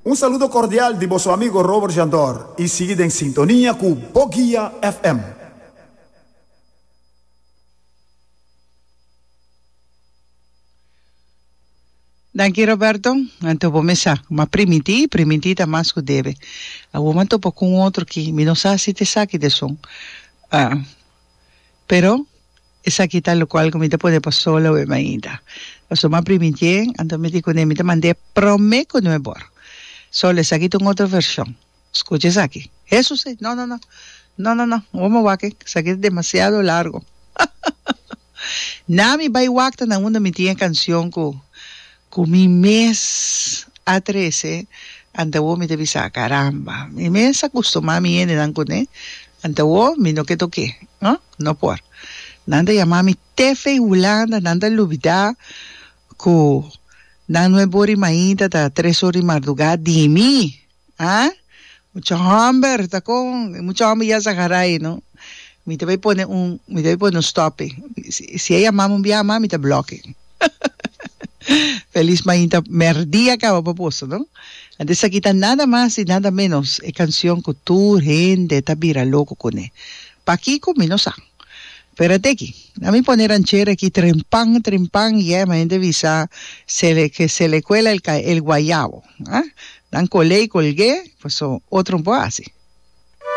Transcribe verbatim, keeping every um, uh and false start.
Un saludo cordial di boso amigo Robert Jandor y sigui den sintonia cu Boguia F M. Danki, Roberto. Anto bo mesa, ma primintí, primintí ta mas ku debe. Awor mi a topa ku un otro ki, mi no sa si ta esaki ta esun. Ah, pero esaki ta lokual ku mi ta pone pa solo awe mainta. Pasobra mi a primintié, anto mi di kuné mi ta mand'é promé ku nuebe or. Solo esaki ta un otro vershon. Skucha esaki. Hesus e, no, no, no. No, no, no. Awor mi a wak e, esaki ta demasiado largo. Na mi bai wak ta na unda mi tin e kanshon ku ku mi mes a trese, anto awor mi ta bisa, "Karamba, mi mes a kustumá mi hendenan kuné, anto awor mi no ke tok'é, no, no por." Nan ta yama mi te fei Hulanda, nan ta lubidá ku nan nuebe ora i mainta ta tres ora di mardugá di mi. Ah? Mucha hòmber ta kon, mucha hòmber ya sa garai, no? Mi ta bai pone un, mi ta bai pone un stòp. Si, si e yama mi un bia mas, mi ta blòk'e. Felis mainta, mèrdia kaba pa boso, no? Anto esaki ta nada mas i nada ménos e kanshon ku tur hende ta bira loko kuné. Pakiko? Mi no sa. Pero ateki, na mi pone ranchera aki trempan, trempan, yè, ma hende bisa se le, que se le cuela el, el guayabo. Ah? Dan kolé i kolgé, paso otro no por hasi.